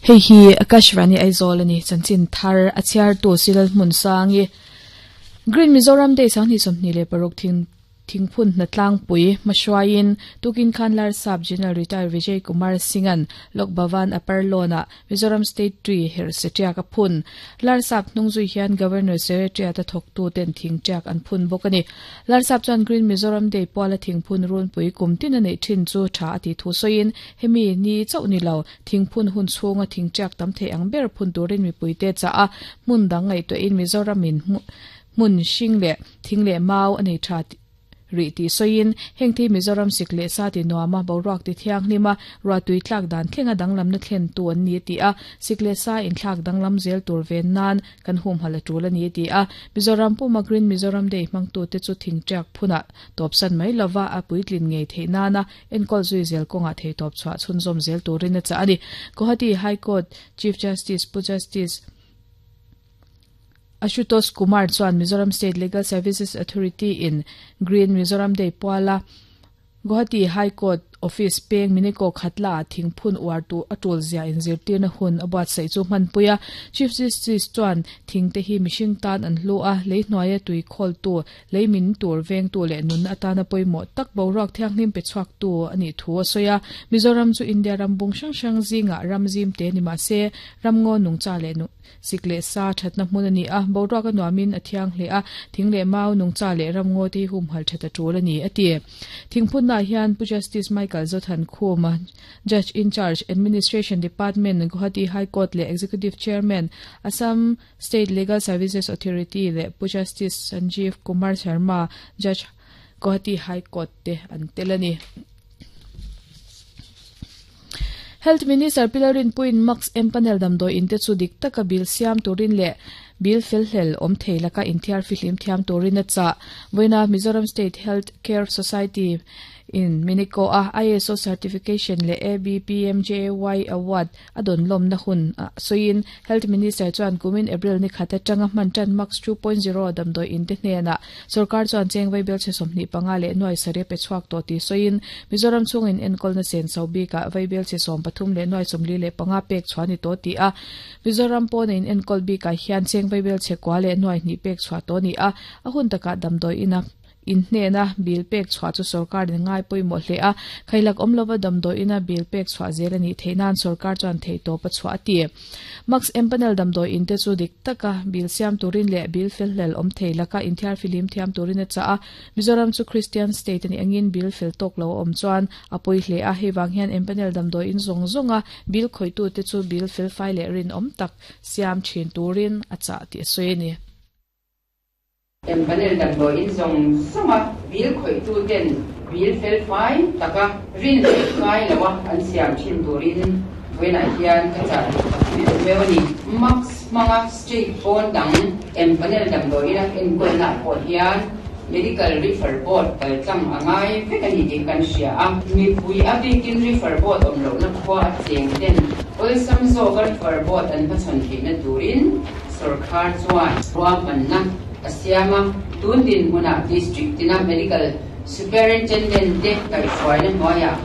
Hei hi Akashvani Aizawl a ni, chanchin thar a chhiartu Silal Hmunsangi. Green Mizoram Day 2026 thing Thingphun hnatlangpui hmahruaiin tukin khan Larsap General Retired Vijay Kumar Singh-a'n Lok Bhavan Upper Lawn-ah Mizoram State Tree herh setiak a phun. Larsap hnungzui hian Governor Secretariat-a thawktu ten thing tiak an phun bawk a ni. Larsap chuan Green Mizoram Day puala thingphun runpui kum tin a neih thin chu tha a tih thu sawiin hemi ni chauh ni lo thingphun hun chhunga thing tiak tam thei ang ber phun turin mipuite chah a hmun dang ngaihtuahin Mizoramin Hmun hring leh thing leh mau a nei tha rih tih sawiin, heng thi Mizoram sik leh sa ti nuama boruak ti thianghlim a, ruahtui tlak dan thlenga danglamna thlentu an ni a ti a, sik leh sa inthlak danglam zel tur ven nan kan humhalh a tul a ni a ti a. Mizoram puma Green Mizoram Day hmangtute chu thingtiak phunah tawpsan mai lova a puitlin ngei theih nana enkawl zui zel kawngah theihtawp chhuah chhunzawm zel turin a chah a ni. Guwahati High Court Chief Justice Pu Justice Ashutosh Kumar chuan Mizoram State Legal Services Authority in Green Mizoram Day puala Guwahati High Court Office peng Miniko Khatla ah thingphun uar tur a tul zia inzirtirna hun a buatsaih chu hmanpui a. Chief Justice chuan thingte hi mihring tan an hlu a, lei hnuaia tui khawltu, lei min tur vengtu leh nunna atana pawimawh tak boruak thianghlim pe chhuaktu a nih thu a sawi a. Mizoram chu India ram bung hrang hrang zingah ram zimte ni mah se, ramngaw nungcha leh Sik leh sa thatna hmun a ni a, boruak a nuamin a thiang hle a, thing leh mau, nungcha leh ramngaw te hi humhalh that a tul a ni, a ti. Thingphunnaah hian Pu Justice Michael Zothan Khuma, Judge in Charge, Administration Department, Guwahati High Court leh Executive Chairman, Assam State Legal Services Authority leh Pu Justice Sanjeev Kumar Sharma, Judge, Guwahati High Court te an tel a ni. Health Minister Pi Lalrinpuiin Max Empanel damdawi in te chu dik taka bill siam turin leh bill felhlel awm thei laka inthiar fihlim thiam turin a chah. Vawiina Mizoram State Health Care Society in Minico a ISO Certification leh ABPMJAY Award A dawn lawmna hun a sawiin Health Minister chuan kumin April ni khat atanga hman tan Max 2.0 damdawi in te hnenah sorkar chuan cheng vaibel chhe 25 leh nuai sarih a pe chhuak tawh tih sawiin Mizoram chhungin enkawlna sen chho bikah vaibel chhe 13 leh nuai 45 pek chhuah a ni tawh tih a Mizoram pawna in enkawl bikah hian cheng vaibel chhe kua leh nuai hnih pek chhuah tawh a ni a, a hun takah damdawi ina In hnena bill pek chhuah chu sorkarin ngai pawimawh hle a, khailak awm lova damdawiina bill pek chhuah zel a nih theih nan sorkar chuan theihtawp a chhuah a ti. Max Empanel damdawi in te chu dik taka bill siam turin leh bill felhlel awm thei laka inthiar fihlim thiam turin a chah a, Mizoram chu Christian state a nih angin bill fel tawk lo a awm chuan a pawi hle a, hei vang hian Empanel damdawi in zawng zawnga bill khawihtute chu bill felfai leh rinawm tak siam thin turin a chah tih a sawi a ni. Empanel damdawiin zawng zawnga bill khawihtuten bill felfai taka rin leh ngai loa an siam thin turin vawiinah hian ka chah duh tak meuh meuh a ni. Mask hmanga state pawn dang empanel damdawiina enkawlnaah pawh hian Medical Refer Board kaltlang a ngai vek a ni tih kan hria a. Mipui a bikin Refer Board awm lohna khua a cheng ten awlsam zawka Refer Board an hmachhawn theihna turin Sorkar chuan ruahmanna a siam a, tun dinhmunah District tina Medical Superintendent te kaihhruaina hnuaiah